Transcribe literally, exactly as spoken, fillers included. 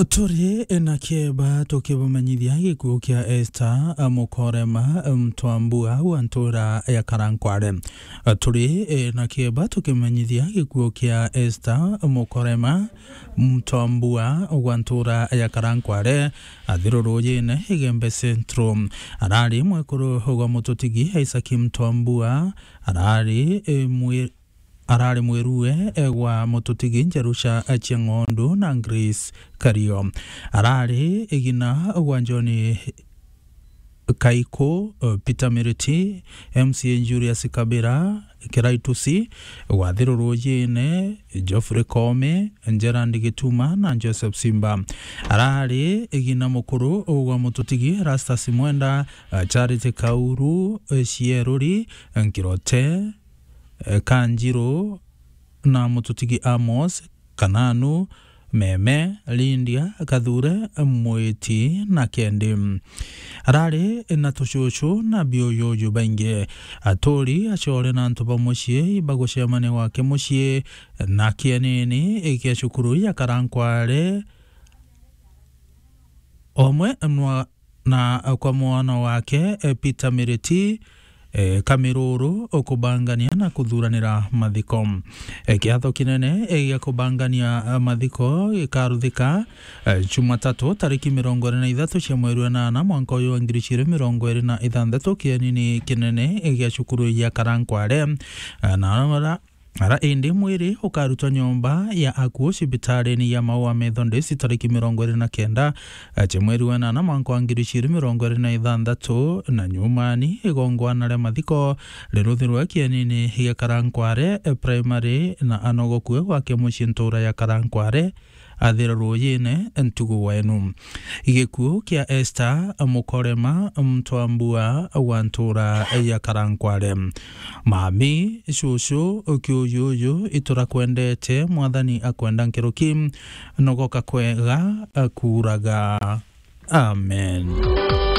Turi na kieba tukibamenyithia gikuo kia Esther Mukorema Mtwambua wa ntura ya Karankware. Turi na kieba tukimenyithia gikuo kia Esther Mukorema Mtwambua wa ntura ya Karankware, athirurujine Igembe Central. Arari mwekuru gwa mututigi Isaac Mtwambua, arari, e, mwi-, arari mwirue, e, gwa mututigi Jerusha Cheng'ondu na Grace Kario. Arari igina gwa John Kaiko, e, Peter Miriti, M C A Julius Kabira, Kiraitusi, wathirurujine Geoffrey Koome, Gerald Gituma na Joseph Simba. Arari igina mukuru gwa mututigi Erastus Mwenda, e, Charity Kauru, e, Cieruri, Nkirote, e, Kanjiru na mututigi Amos Kananu, Meme, Lydia, Kathure, Mwiti na Kendi. Arari na tucucu na biuyuyu baingi. Aturi, acore na antu ba mucii bagucemania gwake mucii na kienini kia cukuru ya Karankware, omwe nwa-, na kwa mwana wake, e, Peter Miriti, e, Kamiruru, ukubangania na kuthuranira mathiko. E, kiatho kinene, e, gia kubangania, e, mathiko gikaruthika, e, Jumatatu tariki mirongo iri na ithatu cia mweri wa nana mwanka uyu wa ngiri igiri mirongo iri na ithanthatu kienini kinene, e, gia cukuru ya Karankware. E, na ara Ara indi mwiri ukarutwa nyomba ya akuu cibitarini ya Maua Methodist tariki mirongo iri na kenda, e, cia mweri wa nana mwanka wa ngiri igiri mirongo iri na ithanthatu, na nyumani igongwana ria mathiko riruthirwe kienini gia Karankware, e, Primary na anogokue gwake mucii ntura ya Karankware, athira ruujine ntugu wenu. Gikuo kia Esther Mukorema Mtwambua wa ntura ya Karankware. Mami, cucu, kiuyuyu, iturakwendete, Mwathani akwenda nkiruki, nogoka kwega, akuuraga. Amen.